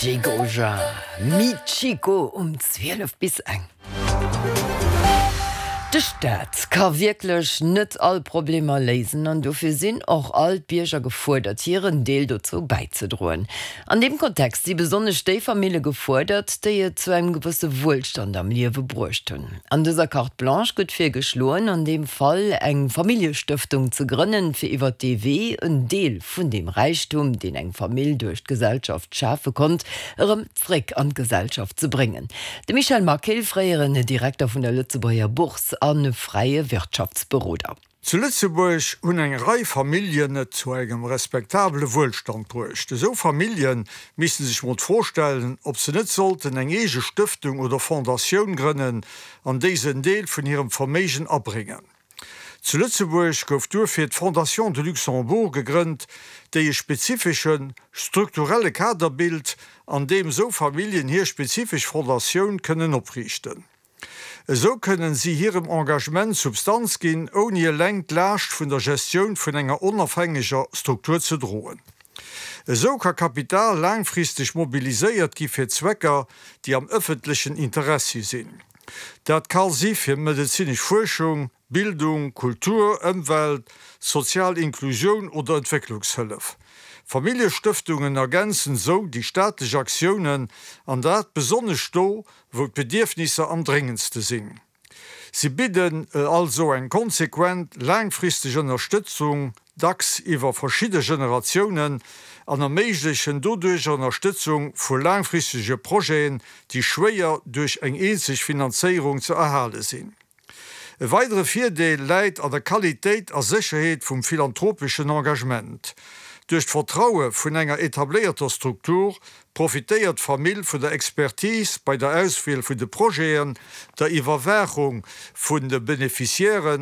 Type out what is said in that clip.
Jigoja, Mi Chico um 12 bis eng. De Staat ka wierklech net all Problemer léisen an dofir sinn och all d'Bierger gefuerdert, hiren Deel dozou bäizedroen. An deem Kontext si besonnesch déi Famille gefuerdert, déi et zu engem gewësse Wuelstand am Liewe bruecht hunn. An dëser Carte Blanche gëtt virgeschloen, an deem Fall eng Familljestëftung ze grënnen, fir iwwert dee Wee en Deel vun deem Räichtum, deen eng Famill duerch d'Gesellschaft schafe konnt, erëm zréck an d'Gesellschaft ze bréngen. De Michel Maquil, fréieren Direkter vun der Lëtzebuerger Bourse a fräie Wirtschaftsberoder. Zu Lëtzebuerg hunn eng Rei Familljen et zu engem respektabele Wuelstand bruecht. Esou Famillje misste sech mol d'Fro stellen, ob se net sollten eng eege Stëftung oder Fondatioun grënnen, an déi se en Deel vun hirem Verméigen abréngen. Zu Lëtzebuerg gouf duerfir d'Fondation de Luxembourg gegrënnt, déi e spezifesche strukturelle Kader bilt, an deem esou Familljen hir spezifesch Fondatioun kënnen opriichten. Esou kënnen si hirem Engagement Substanz ginn, ouni eleng d'Laascht vun der Gestioun vun enger onofhängeger Struktur ze droen. Esou ka Kapital laangfristeg mobiliséiert gi fir Zwecker, déi am ëffentlechen Interessi sinn. Dat ka si fir medezinesch Fuerschung, Bildung, Kultur, Ëmwelt, sozial Inklusioun oder Entwécklungshëllef. Familljestëftungen ergänzen esou déi staatlech Aktiounen, an dat besonnesch do, wou d'Bedierfnisser am dréngendste sinn. Si bidden also eng konsequent, laangfristeg Ënnerstëtzung dacks iwwer verschidde Generatiounen, an erméiglechen doduercher Ënnerstëtzung vu laangfristege Projeten, déi schwéier duerch eng eenzeg Finanzéierung ze erhale sinn. E weidere Virdeel läit an der Qualitéit a Sécherheet vum philanthropeschen Engagement. Duerch d'Vertraue vun enger etabléierter Struktur profitéiert d'Famill vun der Expertise bei der Auswiel vun de Projeten, der Iwwerwaachung vun de Beneficiairen.